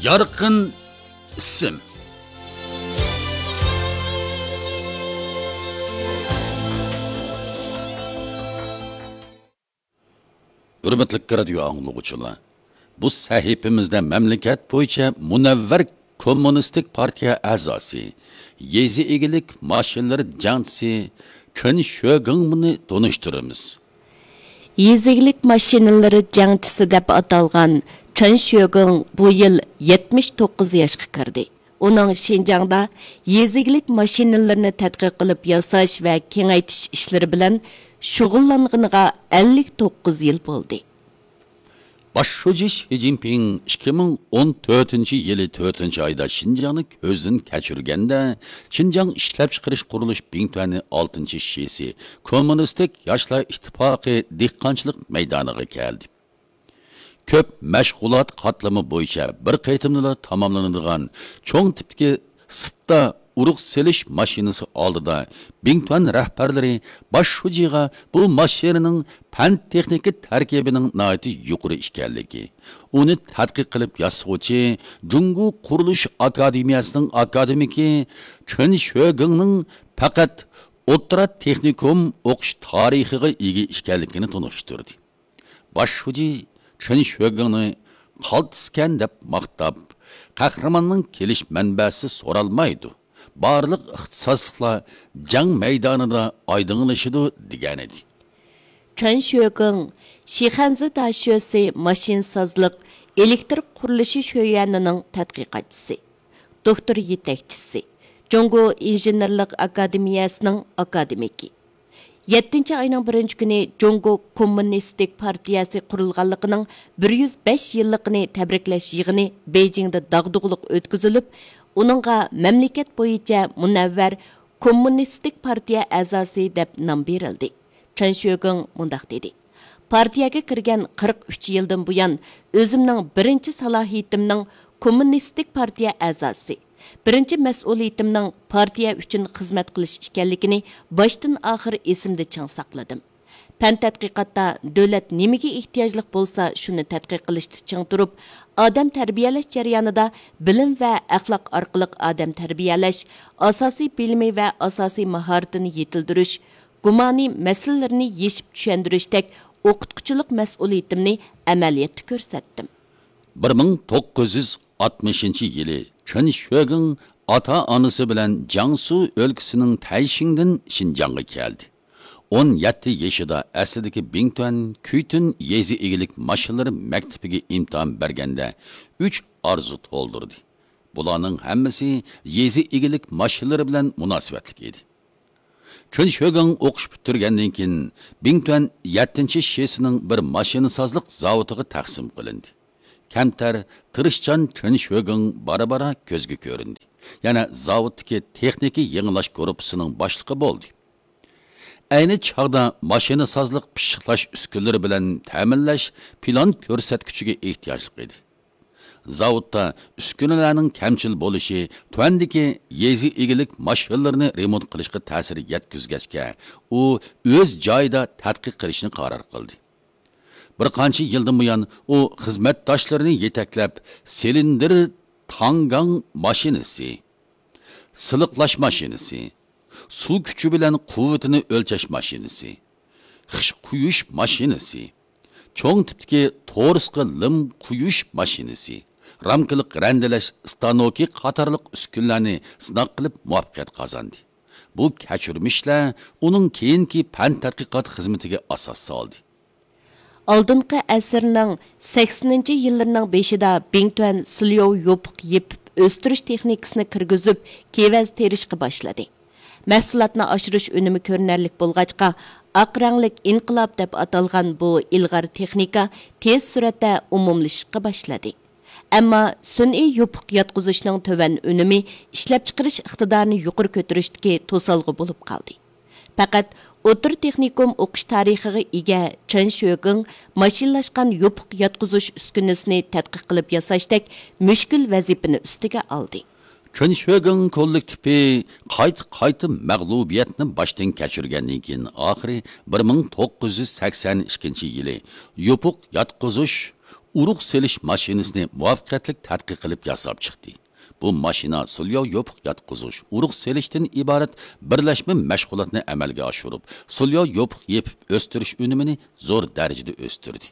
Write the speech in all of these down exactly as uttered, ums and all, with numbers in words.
يارقىن ئىسىم. ھۆرمەتلىك رادىيو ئاڭلىغۇچىلار، بۇ سەھىپىمىزدە مەملىكەت بويىچە مۇنەۋۋەر كوممۇنىستىك پارتىيە ئەزاسى، يېزا ئىگىلىك ماشىنىلىرى جەڭچىسى چېن شۆگېڭنى تونۇشتۇرىمىز. يېزا ئىگىلىك ماشىنىلىرى جەڭچىسى دەپ ئاتالغان چېن شۆگېڭ بۇ يىل يەتمىش توققۇز ياشقا كىردى. ئۇنىڭ شىنجاڭدا يېزا ئىگىلىك ماشىنىلىرىنى تەتقىق قىلىپ ياساش ۋە كېڭەيتىش ئىشلىرى بىلەن شۇغۇللانغىنىغا ئەللىك توققۇز يىل بولدى. باش شۇجى شى جىنپىڭ ئىككى مىڭ ئون تۆتىنچى يىلى تۆتىنچى ئايدا شىنجاڭنى كۆزدىن كەچۈرگەندە، شىنجاڭ ئىشلەپچىقىرىش قۇرۇلۇش بىڭتۈەنى ئالتىنچى شىسى كوممۇنىستىك ياشلار ئىتتىپاقى دېھقانچىلىق مەيدانىغا كەلدى. كۆپ مەشغۇلات قاتلىمى بويىچە بىر قېتىمدىلا تاماملىنىدىغان چوڭ تىپتىكى سىپتا ئۇرۇق سېلىش ماشىنىسى ئالدىدا بىڭتۈەن رەھبەرلىرى باش شۇجىغا بۇ ماشىنىنىڭ پەن تېخنىكا تەركىبىنىڭ ناھايىتى يۇقىرى ئىكەنلىكى، ئۇنى تەتقىق قىلىپ ياسىغۇچى جۇڭگو قۇرۇلۇش ئاكادېمىيەسىنىڭ ئاكادېمىكى چېن شۆگېڭنىڭ پەقەت ئوتتۇرا تېخنىكوم ئوقۇش تارىخىغا ئىگە ئىكەنلىكىنى تونۇشتۇردى. باش شۇجى چېن شۆگېڭنى قالتىسكەن دەپ ماختاپ، قەھرىماننىڭ كېلىش مەنبەسى سورالمايدۇ، بارلىق ئىختىساسلىقلار جەڭ مەيدانىدا ئايدىڭلىشىدۇ، دېگەنىدى. چېن شۆگېڭ شىخەنزې داشۆسى ماشىنىسازلىق ئېلېكتر قۇرۇلۇشى شۆيۈەنىنىڭ تەتقىقاتچىسى، دوكتور يېتەكچىسى، جۇڭگو ئىنژېنېرلىق ئاكادېمىيەسىنىڭ ئاكادېمىكى. يەتتىنچى ئاينىڭ بىرىنچى كۈنى جۇڭگو كوممۇنىستىك پارتىيەسى قۇرۇلغانلىقىنىڭ بىر يۈز بەش يىللىقىنى تەبرىكلەش يىغىنى بېيجىڭدا داغدۇغىلىق ئۆتكۈزۈلۈپ، ئۇنىڭغا مەملىكەت بويىچە مۇنەۋۋەر كوممۇنىستىك پارتىيە ئەزاسى دەپ نام بېرىلدى. چېن شۆگېڭ مۇنداق دېدى: پارتىيەگە كىرگەن قىرىق ئۈچ يىلدىن بۇيان، ئۆزۈمنىڭ بىرىنچى سالاھىيىتىمنىڭ كوممۇنىستىك پارتىيە ئەزاسى، بىرىنچى مەسئۇلىيىتىمنىڭ پارتىيە ئۈچۈن خىزمەت قىلىش ئىكەنلىكىنى باشتىن ئاخىر ئېسىمدە چىڭ ساقلىدىم. پەن تەتقىقاتتا دۆلەت نېمىگە ئېھتىياجلىق بولسا، شۇنى تەتقىق قىلىشتا چىڭ تۇرۇپ، ئادەم تەربىيەلەش جەريانىدا بىلىم ۋە ئەخلاق ئارقىلىق ئادەم تەربىيەلەش، ئاساسىي بىلىمى ۋە ئاساسىي ماھارىتىنى يېتىلدۈرۈش، گۇمانىي مەسىلىلىرىنى يېشىپ چۈشەندۈرۈشتەك ئوقۇتقۇچىلىق مەسئۇلىيىتىمنى ئەمەلىيەتتە كۆرسەتتىم. بىر مىڭ توققۇز يۈز ئاتمىشىنچى يىلى چېن شۆگېڭ ئاتا-ئانىسى بىلەن جياڭسۇ ئۆلكىسىنىڭ تەيشىڭدىن شىنجاڭغا كەلدى. ئون يەتتە يېشىدا ئەسلىدىكى بىڭتۈەن كۈيتۈن يېزا ئىگىلىك ماشىنىلىرى مەكتىپىگە ئىمتىھان بەرگەندە ئۈچ ئارزۇ تولدۇردى. بۇلارنىڭ ھەممىسى يېزا ئىگىلىك ماشىنىلىرى بىلەن مۇناسىۋەتلىك ئىدى. چېن شۆگېڭ ئوقۇش پۈتتۈرگەندىن كېيىن، بىڭتۈەن يەتتىنچى شىسىنىڭ بىر ماشىنىسازلىق زاۋۇتىغا تەقسىم قىلىندى. كەمتەر، تىرىشچان چېن شۆگېڭ بارا-بارا كۆزگە كۆرۈندى. يەنە زاۋۇتتىكى تېخنىكا يېڭىلاش گۇرۇپپىسىنىڭ باشلىقى بولدى. ئەينى چاغدا ماشىنىسازلىق پىششىقلاش ئۈسكۈنىلىرى بىلەن تەمىنلەش پىلان كۆرسەتكۈچىگە ئېھتىياجلىق ئىدى. زاۋۇتتا ئۈسكۈنىلەرنىڭ كەمچىل بولۇشى تۆۋەندىكى يېزا ئىگىلىك ماشىنىلىرىنى رېمونت قىلىشقا تەسىر يەتكۈزگەچكە، ئۇ ئۆز جايىدا تەتقىق قىلىشنى قارار قىلدى. بىر قانچە يىلدىن بۇيان ئۇ خىزمەتداشلىرىنى يېتەكلەپ، سىلىندىر تاڭگاڭ ماشىنىسى، سىلىقلاش ماشىنىسى، سۇ كۈچى بىلەن قۇۋۋىتىنى ئۆلچەش ماشىنىسى، خىش قۇيۇش ماشىنىسى، چوڭ تىپتىكى تورۇسقا لىم قۇيۇش ماشىنىسى، رامكىلىق رەندىلەش ئىستانوكى قاتارلىق ئۈسكۈنىلەرنى سىناق قىلىپ مۇۋەپپەقىيەت قازاندى. بۇ كەچۈرمىشلەر ئۇنىڭ كېيىنكى پەن تەتقىقات خىزمىتىگە ئاساس سالدى. ئالدىنقى ئەسىرنىڭ سەكسىنىنچى يىللىرىنىڭ بېشىدا بىڭتۈەن سىليوۋ يوپۇق يېپىپ ئۆستۈرۈش تېخنىكىسىنى كىرگۈزۈپ، كېۋەز تېرىشقا باشلىدى. مەھسۇلاتنى ئاشۇرۇش ئۈنۈمى كۆرۈنەرلىك بولغاچقا، ئاق رەڭلىك ئىنقىلاب دەپ ئاتالغان بۇ ئىلغار تېخنىكا تېز سۈرئەتتە ئومۇملىشىشقا باشلىدى. ئەمما سۈنئىي يوپۇق ياتقۇزۇشنىڭ تۆۋەن ئۈنۈمى ئىشلەپچىقىرىش ئىقتىدارىنى يۇقىرى كۆتۈرۈشتىكى توسالغۇ بولۇپ قالدى. پەقەت ئوتتۇرا تېخنىكوم ئوقۇش تارىخىغا ئىگە چېن شۆگېڭ ماشىنىلاشقان يوپۇق ياتقۇزۇش ئۈسكۈنىسىنى تەتقىق قىلىپ ياساشتەك مۈشكۈل ۋەزىپىنى ئۈستىگە ئالدى. چېن شۆگېڭ كوللېكتىپى قايتا-قايتا مەغلۇبىيەتنى باشتىن كەچۈرگەندىن كېيىن، ئاخىرى بىر مىڭ توققۇز يۈز سەكسەن ئىككىنچى يىلى يوپۇق ياتقۇزۇش ئۇرۇق سېلىش ماشىنىسىنى مۇۋەپپەقىيەتلىك تەتقىق قىلىپ ياساپ چىقتى. بۇ ماشىنا سۇلياۋ يوپۇق ياتقۇزۇش، ئۇرۇق سېلىشتىن ئىبارەت بىرلەشمە مەشغۇلاتنى ئەمەلگە ئاشۇرۇپ، سۇلياۋ يوپۇق يېپىپ ئۆستۈرۈش ئۈنۈمىنى زور دەرىجىدە ئۆستۈردى.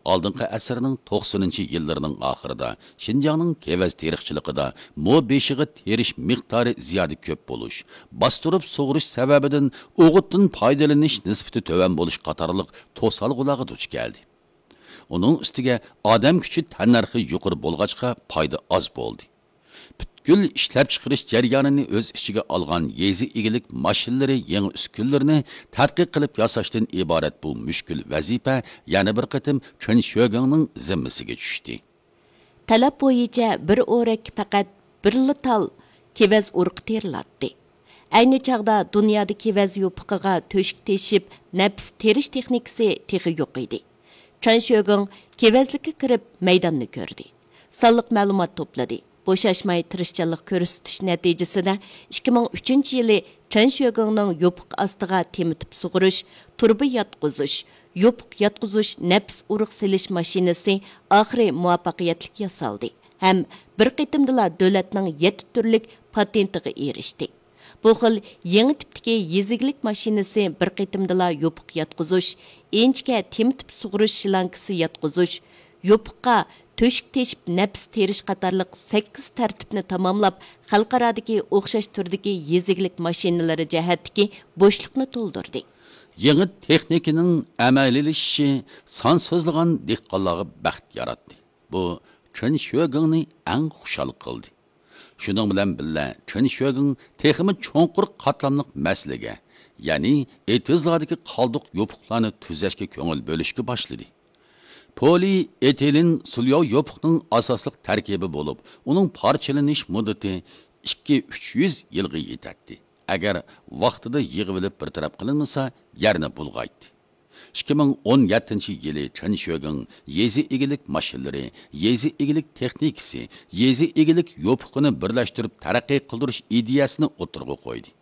ئالدىنقى ئەسىرنىڭ توقسىنىنچى يىللىرىنىڭ ئاخىرىدا شىنجاڭنىڭ كېۋەز تېرىقچىلىقىدا مو بېشىغا تېرىش مىقدارى زىيادە كۆپ بولۇش، باستۇرۇپ سۇغۇرۇش سەۋەبىدىن ئوغۇتتىن پايدىلىنىش نىسبىتى تۆۋەن بولۇش قاتارلىق توسالغۇلارغا دۇچ كەلدى. ئۇنىڭ ئۈستىگە ئادەم كۈچى تەننەرخى يۇقىرى بولغاچقا، پايدا ئاز بولدى. پۈتكۈل ئىشلەپچىقىرىش جەريانىنى ئۆز ئىچىگە ئالغان يېزا ئىگىلىك ماشىنىلىرى يېڭى ئۈسكۈنىلىرىنى تەتقىق قىلىپ ياساشتىن ئىبارەت بۇ مۈشكۈل ۋەزىپە يەنە بىر قېتىم چېن شۆگېڭنىڭ زىممىسىگە چۈشتى. تەلەپ بويىچە بىر ئورەككە پەقەت بىرلا تال كېۋەز ئۇرۇقى تېرىلاتتى. ئەينى چاغدا دۇنيادا كېۋەز يوپۇقىغا تۆشۈك تېشىپ، نەپىس تېرىش تېخنىكىسى تېخى يوق ئىدى. چېن شۆگېڭ كېۋەزلىككە كىرىپ مەيداننى كۆردى. سانلىق مەلۇمات توپلىدى. بوشاشماي تىرىشچانلىق كۆرسىتىش نەتىجىسىدە، ئىككى مىڭ ئۈچىنچى يىلى چېن شۆگېڭنىڭ يوپۇق ئاستىغا تېمىتىپ سۇغۇرۇش، تۇرۇبا ياتقۇزۇش، يوپۇق ياتقۇزۇش نەپىس ئۇرۇق سېلىش ماشىنىسى ئاخىرى مۇۋەپپەقىيەتلىك ياسالدى ھەم بىر قېتىمدىلا دۆلەتنىڭ يەتتە تۈرلۈك پاتېنتىغا ئېرىشتى. بۇ خىل يېڭى تىپتىكى يېزا ئىگىلىك ماشىنىسى بىر قېتىمدىلا يوپۇق ياتقۇزۇش، ئىنچىكە تېمىتىپ سۇغۇرۇش شلانكىسى ياتقۇزۇش، يوپۇققا تۆشۈك تېشىپ نەپىس تېرىش قاتارلىق سەككىز تەرتىپنى تاماملاپ، خەلقئارادىكى ئوخشاش تۈردىكى يېزا ئىگىلىك ماشىنىلىرى جەھەتتىكى بوشلۇقنى تولدۇردى. يېڭى تېخنىكىنىڭ ئەمەلىيلىشىشى سانسىزلىغان دېھقانلارغا بەخت ياراتتى. بۇ چېن شۆگېڭنى ئەڭ خۇشال قىلدى. شۇنىڭ بىلەن بىللە، چېن شۆگېڭ تېخىمۇ چوڭقۇر قاتلاملىق مەسىلىگە، يەنى ئېتىزلاردىكى قالدۇق يوپۇقلارنى تۈزەشكە كۆڭۈل بۆلۈشكە باشلىدى. پولىئېتىلېن سۇلياۋ يوپۇقنىڭ ئاساسلىق تەركىبى بولۇپ، ئۇنىڭ پارچىلىنىش مۇددىتى ئىككى ئۈچ يۈز يىلغا يېتەتتى، ئەگەر ۋاقتىدا يىغىۋېلىپ بىر تەرەپ قىلىنمىسا، يەرنى بۇلغايتتى. ئىككى مىڭ ئون يەتتىنچى يىلى چېن شۆگېڭ يېزا ئىگىلىك ماشىنىلىرى، يېزا ئىگىلىك تېخنىكىسى، يېزا ئىگىلىك يوپۇقىنى بىرلەشتۈرۈپ تەرەققىي قىلدۇرۇش ئىدىيەسىنى ئوتتۇرىغا قويدى.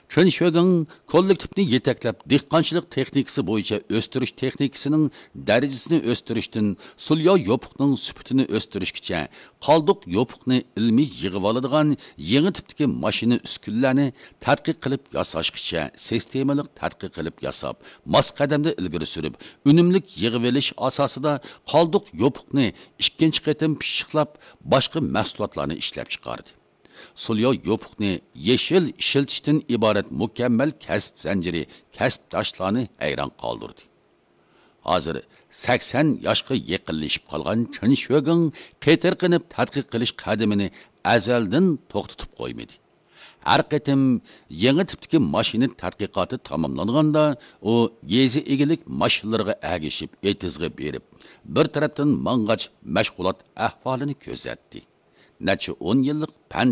چېن شۆگېڭ كوللېكتىپنى يېتەكلەپ، دېھقانچىلىق تېخنىكىسى بويىچە ئۆستۈرۈش تېخنىكىسىنىڭ دەرىجىسىنى ئۆستۈرۈشتىن، سۇلياۋ يوپۇقنىڭ سۈپىتىنى ئۆستۈرۈشكىچە، قالدۇق يوپۇقنى ئىلمىي يىغىۋالىدىغان يېڭى تىپتىكى ماشىنا ئۈسكۈنىلەرنى تەتقىق قىلىپ ياساشقىچە سىستېمىلىق تەتقىق قىلىپ ياساپ، ماس قەدەمدە ئىلگىرى سۈرۈپ، ئۈنۈملۈك يىغىۋېلىش ئاساسىدا قالدۇق يوپۇقنى ئىككىنچى قېتىم پىششىقلاپ، باشقا مەھسۇلاتلارنى ئىشلەپچىقاردى. سۇلياۋ يوپۇقنى يېشىل ئىشلىتىشتىن ئىبارەت مۇكەممەل كەسىپ زەنجىرى كەسىپداشلارنى ھەيران قالدۇردى. ھازىر سەكسەن ياشقا يېقىنلىشىپ قالغان چېن شۆگېڭ قېتىرقىنىپ تەتقىق قىلىش قەدىمىنى ئەزەلدىن توختىتىپ قويمىدى. ھەر قېتىم يېڭى تىپتىكى ماشىنا تەتقىقاتى تاماملانغاندا، ئۇ يېزا ئىگىلىك ماشىنىلىرىغا ئەگىشىپ ئېتىزغا بېرىپ، بىر تەرەپتىن ماڭغاچ مەشغۇلات ئەھۋالىنى كۆزەتتى. نەچچە ئون يىللىق پەن